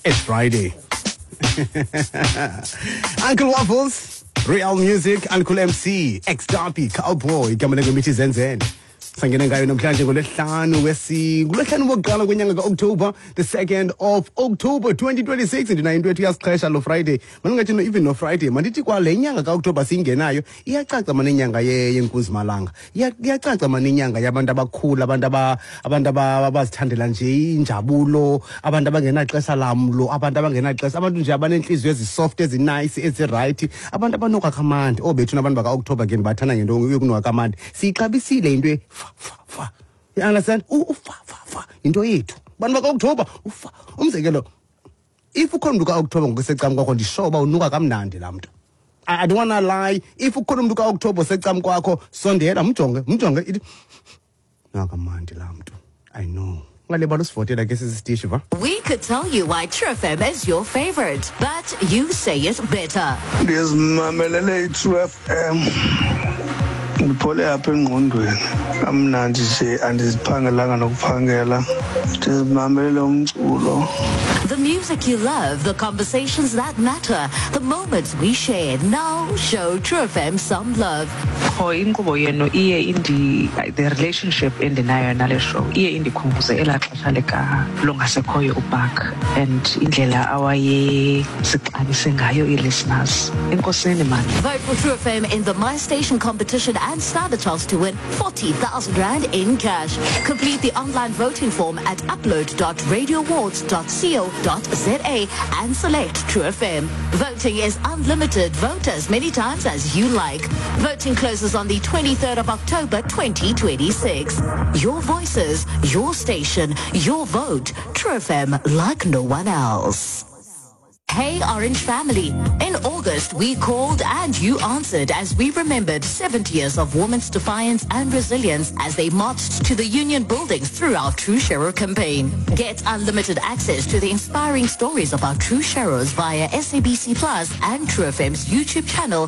It's Friday. Uncle Waffles, Real Music, Uncle MC, Ex Darby, Cowboy, igama lengoma Zenzele. Sangena ngayo namhlanje ngolwesihlanu wesi ngolwesihlanu wokuqala kwenyanga ka-October, the 2nd of October 2026. Ndinayo into ethi uyasixhesha lo Friday. Mandingathi no even no Friday, mandithi kwale nyanga ka-October siyingenayo iyacaca mane inyanga yenkunzimalanga. Iyacaca mane inyanga yabantu abakhulu, abantu abazithandela nje injabulo, abantu abangenaxesha lamlo, abantu abangenaxesha, abantu nje abanentliziyo ezi-soft, ezi-nice, ezi-right, abantu abanuka kamandi. Oobethu nabantu baka-October ke ndibathanda ngento yokunuka kamandi. Siyixabisile into fa fa fa. You understand? Ufa fa fa yinto yethu. Bantu baka-October ufa. Umzekelo, if ukhona umntu ka-October ngokusecam kwakho, ndisho uba unuka kamnandi laa mntu. I don't wanna lie. If ukhona umntu ka-October osecam kwakho, sondela mjonge, mjonge, ithi nuka kamandi laa mntu. I know. Ungalibali usivotela ke sisitishi va. We could tell you why True FM is your favorite, but you say it better. Ndizimamelele i-True FM, ndiphole apha engqondweni kamnandi nje, andiziphangelanga nokuphangela, ndizimamelele umculo. The music you love, the conversations that matter, the moments we share. Now show True FM some love. Qho inkqubo yenu iye indi the relationship endinayo nale show iye indikhumbuze elaa xesha lika longasekhoyo uBark and indlela awayesixabise ngayo ii-listeners. Enkosini mani. Vote for True FM in the My Station competition and stand a chance to win 40,000 Rand in cash. Complete the online voting form at upload.radioawards.co.za and select True FM. Voting is unlimited. Vote as many times as you like. Voting closes on the 23rd of October 2026. Your voices, your station, your vote. True FM like no one else. Hey Orange family. In August, we called and you answered as we remembered 70 years of women's defiance and resilience as they marched to the union buildings through our True Sharer campaign. Get unlimited access to the inspiring stories of our True Sharers via SABC Plus and True FM's YouTube channel.